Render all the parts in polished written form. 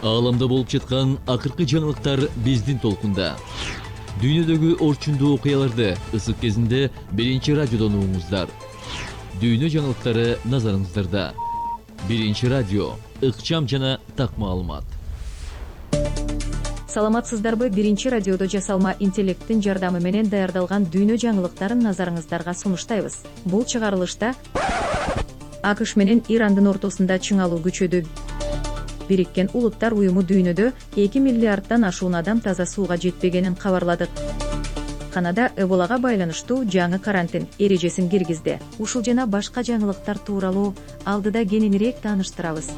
Ааламда болуп жаткан акыркы жаңылыктар биздин толкунда. Дүйнөдөгү орчундуу окуяларды ысык кезинде биринчи радиодон угуңуздар. Дүйнө жаңылыктары назарыңыздарда. Биринчи радио, ыкчам жана так маалымат. Саламатсыздарбы? Биринчи радиодо жасалма интеллекттин жардамы менен даярдалган дүйнө жаңылыктарын назарыңыздарга сунуштайбыз. Бул чыгарылышта АКШ менен Ирандын ортосунда чыңалуу күчөдү. Бириккен Улуттар уюму дүйнөдө 2 миллиарддан ашуун адам таза сууга жетпегенин кабарлады. Канада Эболага байланыштуу жаңы карантин эрежесин киргизди. Ушул жана башка жаңылыктар тууралуу алдыда кененирээк тааныштырабыз.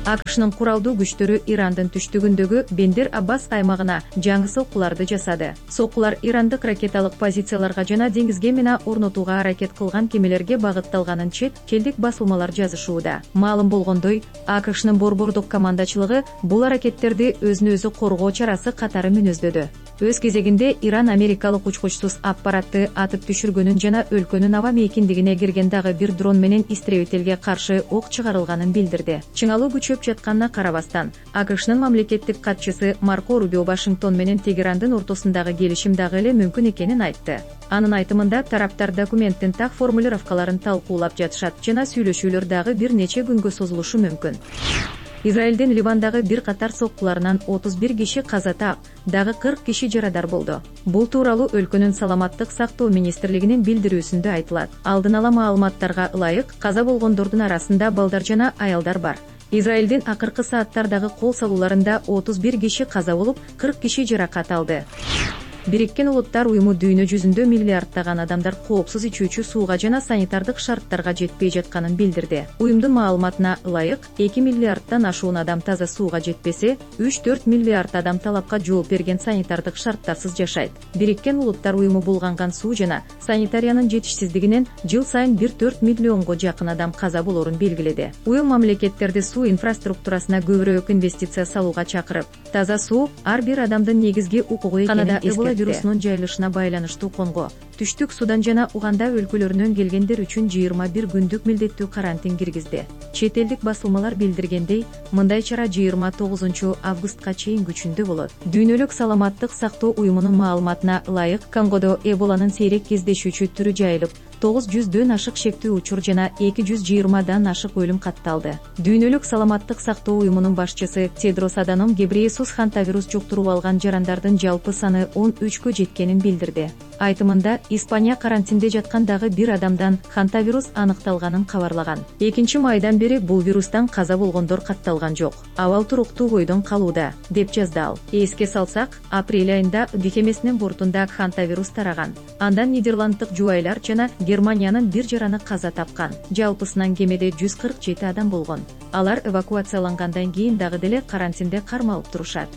АКШнын куралдуу күчтөрү Ирандын түштүгүндөгү Бендер Аббас аймагына жаңы соккуларды жасады. Соккулар ирандык ракеталык позицияларга жана деңизге мина орнотууга аракет кылган кемелерге багытталганын чет элдик басылмалар жазышууда. Маалым болгондой, АКШнын борбордук командачылыгы бул аракеттерди өзүн өзү коргоо чарасы катары мүнөздөдү. Өз кезегинде Иран америкалык учкучсуз аппаратты атып түшүргөнүн жана өлкөнүн аба мейкиндигине кирген дагы бир дрон менен истребителге каршы ок чыгарылганын билдирди. Чыңалуу күчөп жатканына карабастан, АКШнын мамлекеттик катчысы Марко Рубио Вашингтон менен Тегерандын ортосундагы келишим дагы эле мүмкүн экенин айтты. Анын айтымында тараптар документтин так формулировкаларын талкуулап жатышат жана сүйлөшүүлөр дагы бир нече күнгө созулушу мүмкүн. Израилдин Ливандагы бир катар соккуларынан 31 киши каза таап, дагы 40 киши жарадар болду. Бул тууралуу өлкөнүн саламаттык сактоо министрлигинин билдирүүсүндө айтылат. Алдын ала маалыматтарга ылайык, каза болгондордун арасында балдар жана аялдар бар. Израилдин акыркы сааттардагы кол салууларында 31 киши каза болуп, 40 киши жаракат алды. Бириккен Улуттар уюму дүйнө жүзүндө миллиарддаган адамдар коопсуз ичүүчү сууга жана санитардык шарттарга жетпей жатканын билдирди. Уюмдун маалыматына ылайык, 2 миллиарддан ашуун адам таза сууга жетпесе, 3-4 миллиард адам талапка жооп берген санитардык шарттарсыз жашайт. Бириккен Улуттар уюму булганган суу жана санитариянын жетишсиздигинен жыл сайын 1-4 миллионго жакын адам каза болорун белгиледи. Уюм мамлекеттерди суу инфраструктурасына көбүрөөк инвестиция салууга чакырып, таза суу ар бир адамдын негизги укугу экенин эскертти. Вирусунун жайылышына байланыштуу Конго, Түштүк Судан жана Уганда өлкөлөрүнөн келгендер үчүн 21 күндүк милдеттүү карантин киргизди. Чет элдик басылмалар билдиргендей, мындай чара 29 августка чейин күчүндө болот. Дүйнөлүк саламаттык сактоо уюмунун маалыматына ылайык, Конгодо Эболанын сейрек кездешүүчү түрү жайылып, 900дөн ашык шектүү учур жана 220дан ашык өлүм катталды. Дүйнөлүк саламаттык сактоо уюмунун башчысы Тедрос Аданом Гебрейесус хантавирус жуктуруп алган жарандардын жалпы саны 13кө жеткенин билдирди. Айтымында, Испания карантинде жаткан дагы бир адамдан хантавирус аныкталганын кабарлаган. 2-майдан бери бул вирустан каза болгондор катталган жок. Абал туруктуу бойдон калууда, деп жазды ал. Эске салсак, апрель айында кемесинин бортунда хантавирус тараган. Андан Нидерланддык жубайлар жана Германиянын бир жараны каза тапкан. Жалпысынан кемеде 147 адам болгон. Алар эвакуациялангандан кийин дагы деле карантинде кармалып турушат.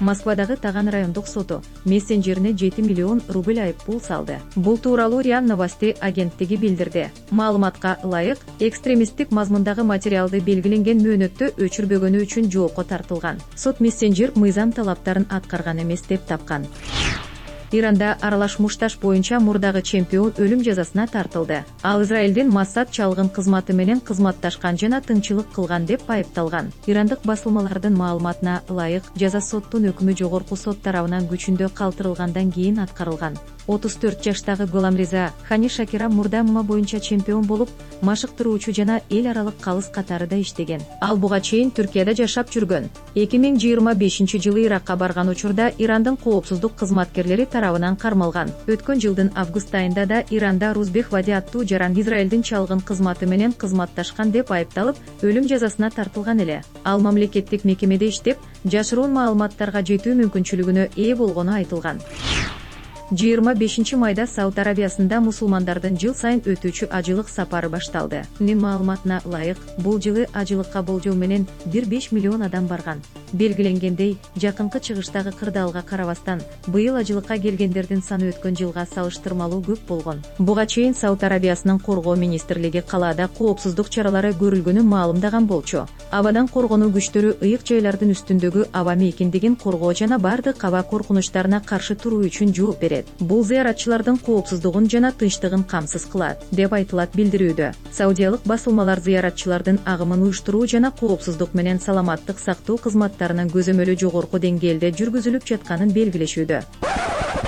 Москвадагы Таган райондук соту мессенджерине 7 миллион рубль айыппул салды. Бул тууралуу РИА Новости агенттиги билдирди. Маалыматка ылайык, экстремисттик мазмундагы материалды белгиленген мөөнөттө өчүрбөгөнү үчүн жоопко тартылган. Сот мессенджер мыйзам талаптарын аткарган эмес деп тапкан. Иранда аралаш мушташ боюнча мурдагы чемпион өлүм жазасына тартылды. Ал Израилдин Моссад чалгын кызматы менен кызматташкан жана тыңчылык кылган деп айыпталган. Ирандык басылмалардын маалыматына ылайык, жаза соттун өкүмү жогорку сот тарабынан күчүндө калтырылгандан кийин аткарылган. 34 жаштагы Голамриза Хани Шакира мурда ММА боюнча чемпион болуп, машыктыруучу жана эл аралык калыс катарында иштеген. Ал буга чейин Түркияда жашап жүргөн. 2025-жылы Иракка барган учурда Ирандын коопсуздук кызматкерлери тарабынан кармалган. Өткөн жылдын август айында да Иранда Рузбек Вади аттуу жаран Израилдин чалгын кызматы менен кызматташкан деп айыпталып, өлүм жазасына тартылган эле. Ал мамлекеттик мекемеде иштеп, жашыруун маалыматтарга жетүү мүмкүнчүлүгүнө ээ болгону айтылган. 25 Сауд Арабиясында мусулмандардын жыл сайын өтүүчү ажылык сапары башталды. Маалыматына ылайык, бул жылы ажылыкка болжол менен 1,5 миллион адам барган. Белгиленгендей, жакынкы чыгыштагы кырдаалга карабастан, быйыл ажылыкка келгендердин саны өткөн жылга салыштырмалуу көп болгон. Буга чейин Сауд Арабиясынын коргоо министрлиги калаада коопсуздук чаралары көрүлгөнүн маалымдаган болчу. Абадан коргонуу күчтөрү ыйык жайлардын үстүндөгү аба мейкиндигин коргоо жана бардык аба коркунучтарына каршы туруу үчүн жооп берет. Бул зыяратчылардын коопсуздугун жана тынчтыгын камсыз кылат, деп айтылат билдирүүдө. Саудиялык басылмалар зыяратчылардын агымын уюштуруу жана коопсуздук менен саламаттык сактоо кызматтарынын көзөмөлү жогорку деңгээлде жүргүзүлүп жатканын белгилешүүдө.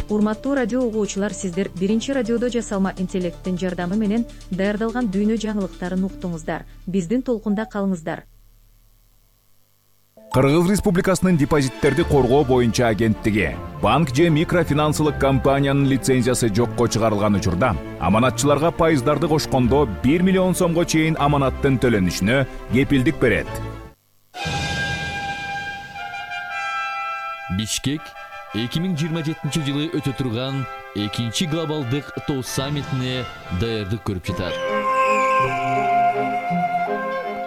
Урматтуу радио угуучулар, сиздер биринчи радиодо жасалма интеллекттин жардамы менен даярдалган дүйнө жаңылыктарын уктуңуздар. Биздин толкунда калыңыздар. Кыргыз Республикасынын депозиттерди коргоо боюнча агенттиги банк же микрофинансылык компаниянын лицензиясы жокко чыгарылган учурда аманатчыларга пайыздарды кошкондо 1 миллион сомго чейин аманаттын төлөнүшүнө кепилдик берет. Бишкек 2027-жылы өтө турган 2-чи глобалдык тоо саммитине даярдык көрүп жатат.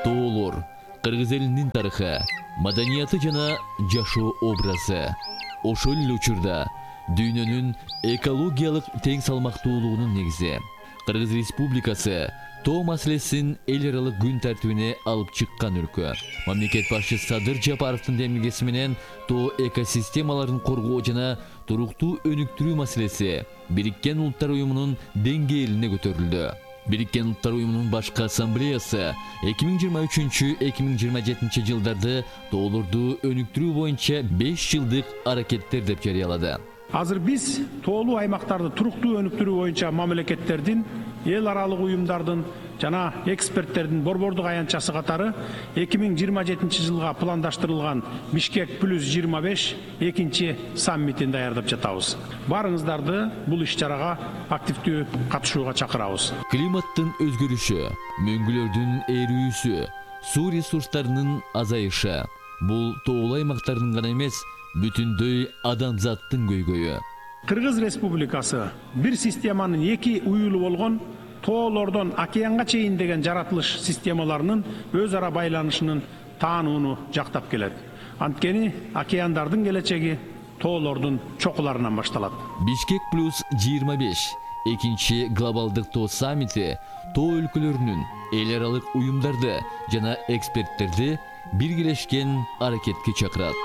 Тоолор кыргыз элинин тарыхы, маданияты жана жашоо образы. Ошол эле учурда дүйнөнүн экологиялык тең салмактуулугунун негизи. Кыргыз Республикасы тоо маселесин эл аралык күн тартибине алып чыккан өлкө. Мамлекет башчысы Садыр Жапаровдун демилгеси менен тоо экосистемаларын коргоо жана туруктуу өнүктүрүү маселеси Бириккен Улуттар Уюмунун деңгээлине көтөрүлдү. Бириккен Улуттар Уюмунун башкы ассамблеясы 2023-2027 жылдарды тоолорду өнүктүрүү боюнча 5 жылдык аракеттер деп жарыялады. Азыр биз тоолуу аймактарды туруктуу өнүктүрүү боюнча мамлекеттердин, эл аралык уюмдардын жана эксперттердин борбордук аянтчасы катары 2027 жылга пландаштырылган Бишкек плюс 25 экинчи саммитин даярдап жатабыз. Барыңыздарды бул иш-чарага активдүү катышууга чакырабыз. Климаттын өзгөрүшү, мөңгүлөрдүн эрүүсү, суу ресурстарынын азайышы бул тоолуу аймактардын гана эмес, бүтүндөй адамзаттын көйгөйү. Кыргыз Республикасы бир системанын эки уюлу болгон тоолордон океанга чейин деген жаратылыш системаларынын өз ара байланышынын таанууну жактап келет. Анткени океандардын келечеги тоолордун чокуларынан башталат. Бишкек плюс 25 экинчи глобалдык тоо саммити тоо өлкөлөрүнүн, эл аралык уюмдарды жана эксперттерди биргелешкен аракетке чакырат.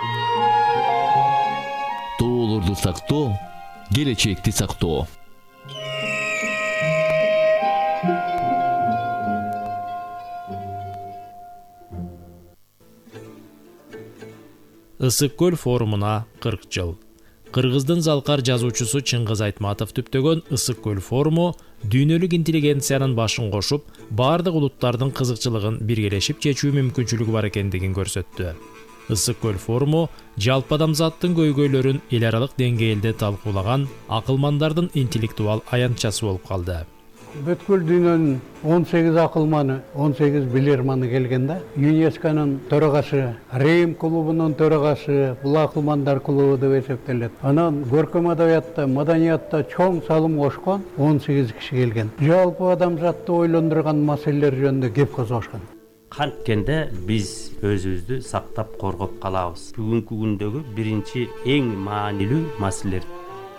Тоолорду сактоо, келечекти сактоо. Ысык көл форумуна 40 жыл. Кыргыздын залкар жазуучусу Чыңгыз Айтматов түптөгөн Ысык көл форуму дүйнөлүк интеллигенциянын башын кошуп, бардык улуттардын кызыкчылыгын биргелешип чечүү мүмкүнчүлүгү бар экендигин көрсөттү. Ысык көл форуму жалпы адамзаттын көйгөйлөрүн эл аралык деңгээлде талкуулаган акылмандардын интеллектуал аянтчасы болуп калды. Бүткүл дүйнөнүн 18 акылманы, 18 билерманы келген да. ЮНЕСКОнун төрагасы, Рим клубунун төрагасы, бул акылмандар клубу деп эсептелет. Анан көркөм адабиятта, маданиятта чоң салым кошкон 18 киши келген. Жалпы адамзатты ойлондурган маселелер жөнүндө кеп козгошкон. Канткенде биз өзүбүздү сактап коргоп калабыз. Бүгүнкү күндөгү биринчи эң маанилүү маселелер.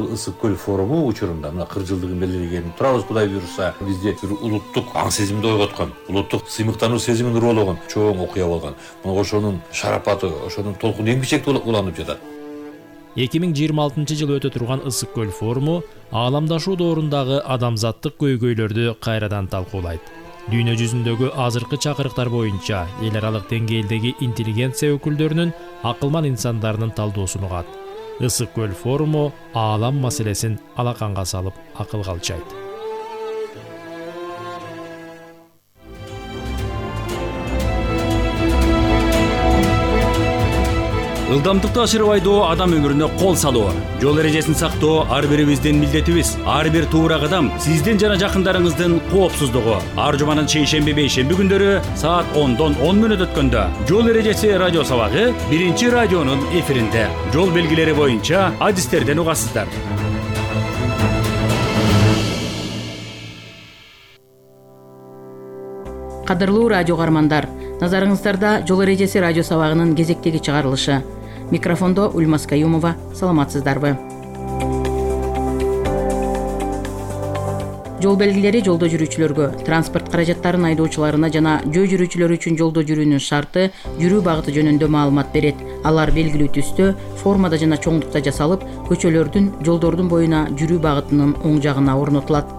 Ысык көл форуму учурунда мына 40 жылдыгын белгилеген турабыз, Кудай буйруса. Бизде бир улуттук аң сезимди ойготкон, улуттук сыймыктануу сезимин уруулаган чоң окуя болгон. Мына ошонун шарапаты, ошонун толкуну эң бишекте уланып жатат. 2026 жылы өтө турган Ысык көл форуму ааламдашуу доорундагы адамзаттык көйгөйлөрдү кайрадан талкуулайт. Дүйнө жүзүндөгү азыркы чакырыктар боюнча эл аралык деңгээлдеги интеллигенция өкүлдөрүнүн, акылман инсандарынын талдоосун угат. Ысык көл форуму аалам маселесин алаканга салып акылга алчайт. Ылдамдыкты ашырып айдоо адам өмүрүнө кол салуу. Жол эрежесин сактоо ар бирибиздин милдетибиз. Ар бир туура кадам сиздин жана жакындарыңыздын коопсуздугу. Ар жуманын шейшемби бейшемби күндөрү саат 10дон 10 мүнөт өткөндө жол эрежеси радио сабагы биринчи радионун эфиринде. Жол белгилери боюнча адистерден угасыздар. Кадырлуу радио каармандар, Назарыңыздарда жол эрежеси радио сабагынын кезектеги чыгарылышы. Микрофондо Ульмас Каюмова. Саламатсыздарбы? Жол белгилери жолдо жүрүүчүлөргө, транспорт каражаттарын айдоочуларына жана жөө жүрүүчүлөр үчүн жолдо жүрүүнүн шарты, жүрүү багыты жөнүндө маалымат берет. Алар белгилүү түстө, формада жана чоңдукта жасалып, көчөлөрдүн, жолдордун боюна жүрүү багытынын оң жагына орнотулат.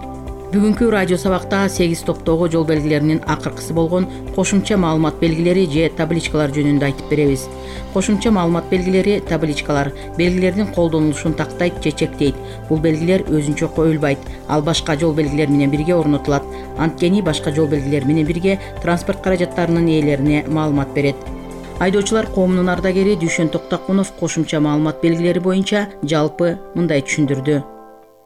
Бүгүнкү радио сабакта 8 топтогу жол белгилеринин акыркысы болгон кошумча маалымат белгилери же табличкалар жөнүндө айтып беребиз. Кошумча маалымат белгилери, табличкалар белгилердин колдонулушун тактайт же чектейт. Бул белгилер өзүнчө коюлбайт, ал башка жол белгилери менен бирге орнотулат. Анткени башка жол белгилери менен бирге транспорт каражаттарынын ээлерине маалымат берет. Айдоочулар коомунун ардагери Дүйшөн Токтокунов кошумча маалымат белгилери боюнча жалпы мындай түшүндүрдү.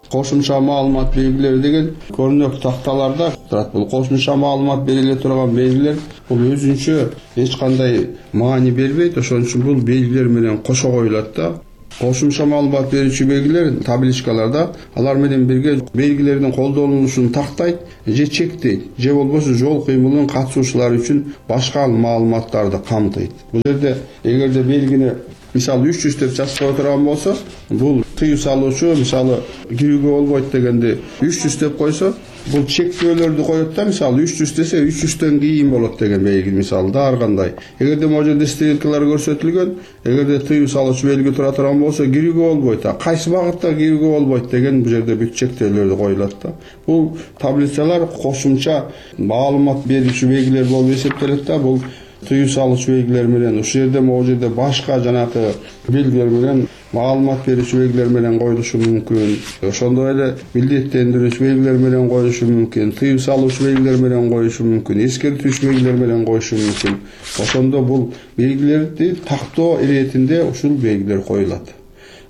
Кошумча маалымат белгилери деген көрүнөк такталарда турат. Бул кошумча маалымат белгилей турган белгилер бул өзүнчө эч кандай маани бербейт. Ошон үчүн бул белгилер менен кошо коюлат да. Кошумча маалымат берүүчү белгилер табличкаларда алар менен бирге белгилердин колдонулушун тактайт же чектейт, же болбосо жол кыймылынын катышуучулары үчүн башка маалыматтарды камтыйт. Бул жерде эгерде белгини мисалы 300 деп жазып кое турган болсо, бул тыюу салуучу мисалы кирүүгө болбойт дегенди 300 деп койсо, бул чектөөлөрдү коет да, мисалы 300 десе 300төн кийин болот деген белги мисалы да ар кандай. Эгерде могу жерде стрелкалар көрсөтүлгөн, эгерде тыюу салуучу белги тура турган болсо кирүүгө болбойт, кайсы багытта кирүүгө болбойт деген бул жерде бүт чектөөлөрдү коюлат да. Бул таблицалар кошумча маалымат берүүчү белгилер болуп эсептелет да. Бул тыюу салуучу белгилер менен ушул жерде могу жерде башка жанагы белгилер менен маалымат берүүчү белгилер менен коюлушу мүмкүн. Ошондой эле милдеттендирүүчү белгилер менен коюлушу мүмкүн, тыюу салуучу белгилер менен коюлушу мүмкүн, эскертүүчү белгилер менен коюшу мүмкүн. Ошондо бул белгилерди тактоо иретинде ушул белгилер коюлат.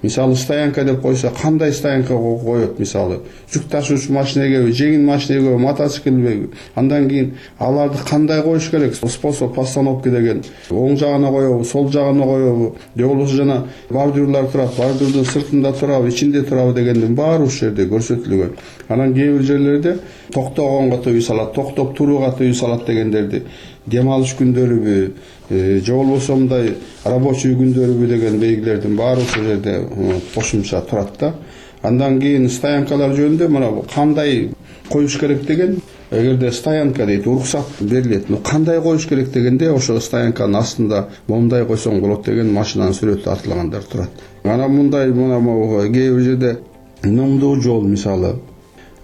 Мисалы стоянка деп койсо, кандай стоянкага коет мисалы? Жүк ташуучу машинеге, жеңил машинеге, мотоциклге, андан кийин аларды кандай коюш керек? Способ постановки деген оң жагына коебу, сол жагына коебу, же болбосо жана бордюрлар турат, бордюрдун сыртында турабы, ичинде турабы дегендин баары ушул жерде көрсөтүлгөн. Анан кээ бир жерлерде токтогонго тыюу салат, токтоп турууга тыюу салат дегендерди дем алыш күндөрүбү, же болбосо мындай рабочий күндөрүбү деген белгилердин баары ушул жерде кошумча турат да. Андан кийин стоянкалар жөнүндө мына кандай коюш керек деген, эгерде стоянка дейт, уруксат берилет. Кандай коюш керек дегенде ошо стоянканын астында момундай койсоң болот деген машинанын сүрөтү тартылгандар турат. Анан мындай кээ бир жерде нымдуу жол мисалы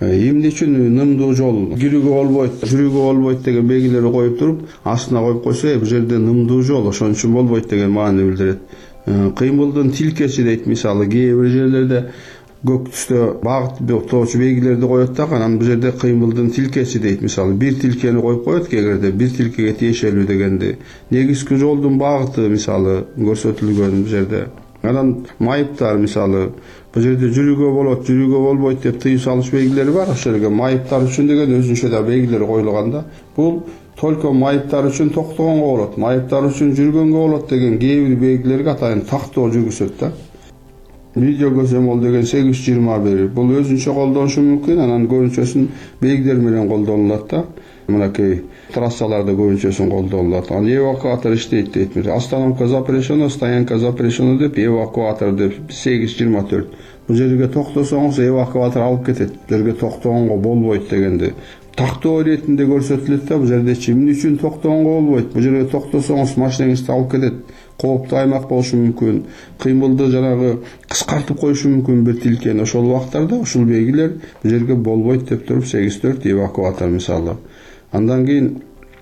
эмне үчүн нымдуу жол кирүүгө болбойт, жүрүүгө болбойт деген белгилерди коюп туруп, астына коюп койсо, бул жерде нымдуу жол, ошон үчүн болбойт деген маани билдирет. Кыймылдын тилкеси дейт мисалы, кээ бир жерлерде көк түстө багыт тоочу белгилерди коет да, анан бул жерде кыймылдын тилкеси дейт мисалы, бир тилкени коюп коет, эгерде бир тилкеге тиешелүү дегенди. Негизги жолдун багыты мисалы көрсөтүлгөн бул жерде. Анан майыптар мисалы, бул жерде жүрүүгө болот, жүрүүгө болбойт деп тыюу салыш белгилери бар. Ошол жерге майыптар үчүн деген өзүнчө да белгилер коюлган да. Бул только майыптар үчүн токтогонго болот, майыптар үчүн жүргөнгө болот деген кээ бир белгилерге атайын тактоо жүргүзөт да. Видео көзөмөл деген 821 бул өзүнчө колдонушу мүмкүн, анан көбүнчөсүн белгилер менен колдонулат да. Мынакей трассаларда көбүнчөсүн колдонулат. Анан эвакуатор иштейт дейт. Остановка запрещена, стоянка запрещена деп эвакуатор деп 824. Бул жерге токтосоңуз эвакуатор алып кетет. Бул жерге токтогонго болбойт дегенди тактоо иретинде көрсөтүлөт да. Бул жерде эмне үчүн токтогонго болбойт? Бул жерге токтосоңуз машинаңызды алып кетет. Кооптуу аймак болушу мүмкүн. Кыймылды жанагы кыскартып коюшу мүмкүн бир тилкени. Ошол убактарда ушул белгилер бул жерге болбойт деп туруп 84 эвакуатор мисалы. Андан кийин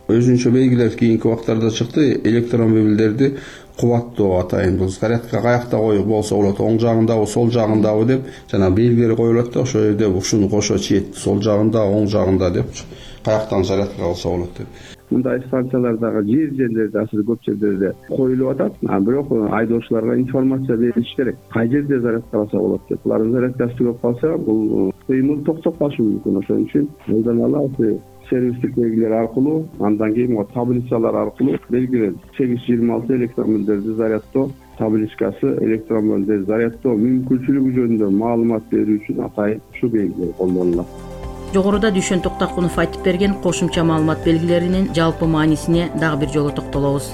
өзүнчө белгилер кийинки убактарда чыкты. Электромобилдерди кубаттоо атайын. Бул зарядка каякта коюп болсо болот, оң жагындабы, сол жагындабы деп жана белгилер коюлат да. Ошол жерде ушуну кошо чийет, сол жагында, оң жагында деп каяктан зарядка кылса болот деп. Мындай станциялар дагы жерлерде азыр көп жерлерде коюлуп атат. Бирок айдоочуларга информация бериш керек. Кай жерде зарядкаласа болот деп. Булардын зарядкасы көп калса, бул кыймыл токтоп калышы мүмкүн. Ошон үчүн элден ала сервистик белгилер аркылуу, андан кийин таблицалар аркылуу белгилер 826 электромобилдерди зарядтоо табличкасы, электромобилдерди зарядтоо мүмкүнчүлүгү жөнүндө маалымат берүү үчүн атайын ушу белгилер колдонулат. Жогоруда Дүйшөн Токтакунов айтып берген кошумча маалымат белгилеринин жалпы маанисине дагы бир жолу токтолобуз.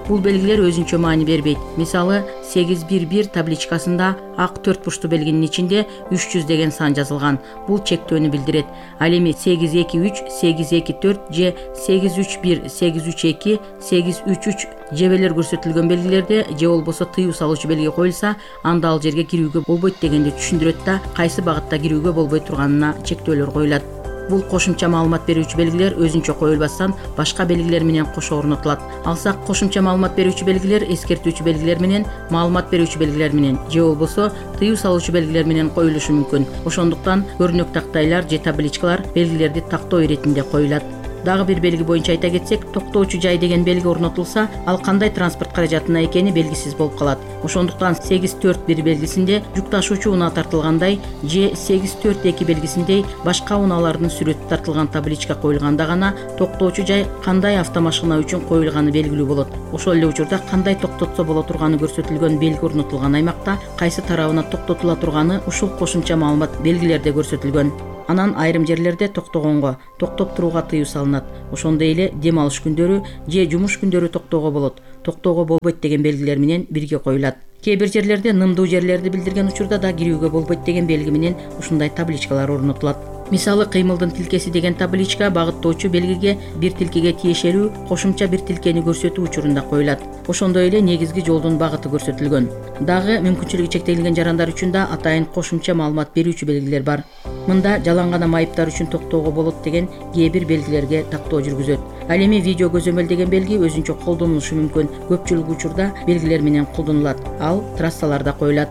Бул белгилер өзүнчө маани бербейт. Мисалы 811 табличкасында ак 4 бурчтуу белгинин ичинде 300 деген сан жазылган. Бул чектөөнү билдирет. Ал эми 823, 824 же 831, 832, 833 жебелер көрсөтүлгөн белгилерде же болбосо тыюу салуучу белги коюлса, анда ал жерге кирүүгө болбойт дегенди түшүндүрөт да, кайсы багытта кирүүгө болбой турганына чектөөлөр коюлат. Бул кошумча маалымат берүүчү белгилер өзүнчө коюлбастан башка белгилер менен кошо орнотулат. Алсак кошумча маалымат берүүчү белгилер эскертүүчү белгилер менен, маалымат берүүчү белгилер менен же болбосо тыюу салуучу белгилер менен коюлушу мүмкүн. Ошондуктан көрүнөк тактайлар же табличкалар белгилерди тактоо иретинде коюлат. Дагы бир белги боюнча айта кетсек, токтоочу жай деген белги орнотулса, ал кандай транспорт каражатына экени белгисиз болуп калат. Ошондуктан 841 белгисинде жүк ташуучу унаа тартылгандай же 842 белгисиндей башка унаалардын сүрөтү тартылган табличка коюлганда гана токтоочу жай кандай автомашина үчүн коюлганы белгилүү болот. Ошол эле учурда кандай токтотсо боло турганы көрсөтүлгөн белги орнотулган аймакта кайсы тарабына токтотула турганы ушул кошумча маалымат белгилерде көрсөтүлгөн. Анан айрым жерлерде токтогонго, токтоп турууга тыюу салынат. Ошондой эле дем алыш күндөрү же жумуш күндөрү токтоого болот, токтоого болбойт деген белгилер менен бирге коюлат. Кээ бир жерлерде нымдуу жерлерди билдирген учурда да кирүүгө болбойт деген белги менен ушундай табличкалар орнотулат. Мисалы кыймылдын тилкеси деген табличка багыттоочу белгиге бир тилкеге тиешелүү кошумча бир тилкени көрсөтүү учурунда коюлат. Ошондой эле негизги жолдун багыты көрсөтүлгөн. Дагы мүмкүнчүлүгү чектелген жарандар үчүн да атайын кошумча маалымат берүүчү белгилер бар. Мында жалаң гана майыптар үчүн токтоого болот деген кээ бир белгилерге тактоо жүргүзөт. Ал эми видео көзөмөл деген белги өзүнчө колдонулушу мүмкүн. Көпчүлүк учурда белгилер менен колдонулат. Ал трассаларда коюлат.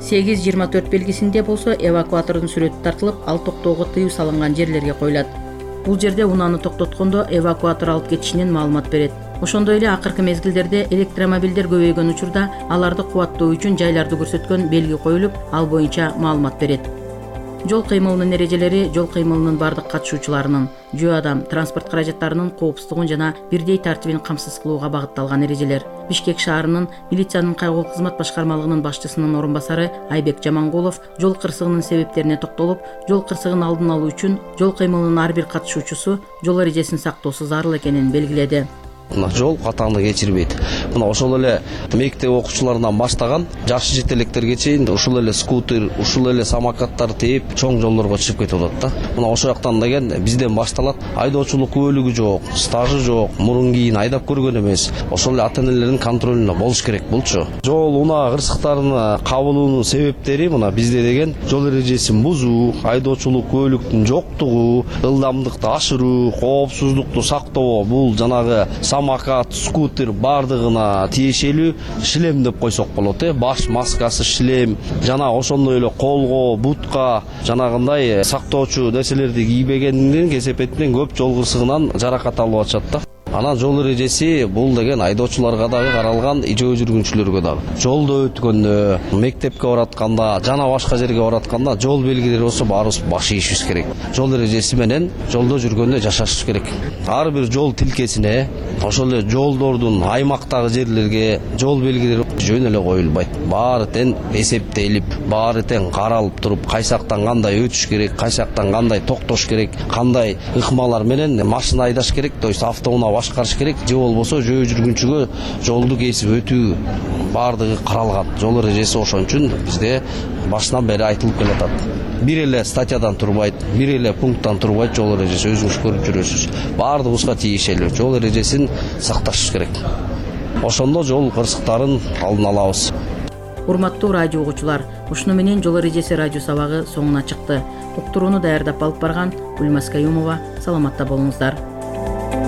824 белгисинде болсо эвакуатордун сүрөтү тартылып, ал токтоого тыюу салынган жерлерге коюлат. Бул жерде унааны токтоткондо эвакуатор алып кетишинен маалымат берет. Ошондой эле акыркы мезгилдерде электромобилдер көбөйгөн учурда аларды кубаттоо үчүн жайларды көрсөткөн белги коюлуп, ал боюнча маалымат берет. Жол кыймылынын эрежелери жол кыймылынын бардык катышуучуларынын, жөө адам, транспорт каражаттарынын коопсуздугун жана бирдей тартибин камсыз кылууга багытталган эрежелер. Бишкек шаарынын милициянын кайгылуу кызмат башкармалыгынын башчысынын орун басары Айбек Жамангулов жол кырсыгынын себептерине токтолуп, жол кырсыгын алдын алуу үчүн жол кыймылынын ар бир катышуучусу жол эрежесин сактоосу зарыл экенин белгиледи. Жол катаңды кечирбейт. Мына ошол эле мектеп окуучуларынан баштаган жаш жетелектерге чейин ушул эле скутер, ушул эле самокаттар тээп чоң жолдорго чыгып кетип атат да. Мына ошол жактан деген бизден башталат. Айдоочулук күбөлүгү жок, стажы жок, мурун кийин айдап көргөн эмес. Ошол эле ата-энелердин контролунда болуш керек булчу. Жол унаа кырсыктарын кабылуунун себептери мына бизде деген жол эрежесин бузуу, айдоочулук күбөлүктүн жоктугу, ылдамдыкты ашыруу, коопсуздукту сактоо, бул жанагы самокат, скутер бардыгына тиешелүү шлем деп койсок болот. Баш маскасы, шлем жана ошондой эле колго, бутка жанагындай сактоочу нерселерди кийбегенден кесепетинен көп жол кырсыгынан жаракат алып атышат да. Анан жол эрежеси бул деген айдоочуларга дагы каралган, жөө жүргүнчүлөргө дагы. Жолдо өткөндө, мектепке баратканда, жана башка жерге баратканда жол белгилери болсо баарыбыз баш ийишибиз керек. Жол эрежеси менен жолдо жүргөндө жашашыбыз керек. Ар бир жол тилкесине, ошол эле жолдордун аймактагы жерлерге жол белгилери жөн эле коюлбайт. Баары тең эсептелип, баары тең каралып туруп, кайсактан кандай өтүш керек, кайсактан кандай токтош керек, кандай ыкмалар менен машина айдаш керек, то есть автоунаа башкарыш керек, же болбосо жөө жүргүнчүгө жолду кесип өтүү баардыгы каралган. Жол эрежеси ошон үчүн бизде башынан бери айтылып келатат. Бир эле статьядан турбайт, бир эле пункттан турбайт жол эрежеси, өзүңүз көрүп жүрөсүз. Баардыгыбызга тиешелүү жол эрежесин сакташыбыз керек. Ошондо жол кырсыктарын алдын алабыз. Урматтуу радио угуучулар, ушуну менен жол эрежеси радио сабагы соңуна чыкты. Уктурууну даярдап алып барган Гүлмаз Каюмова. Саламатта болуңуздар.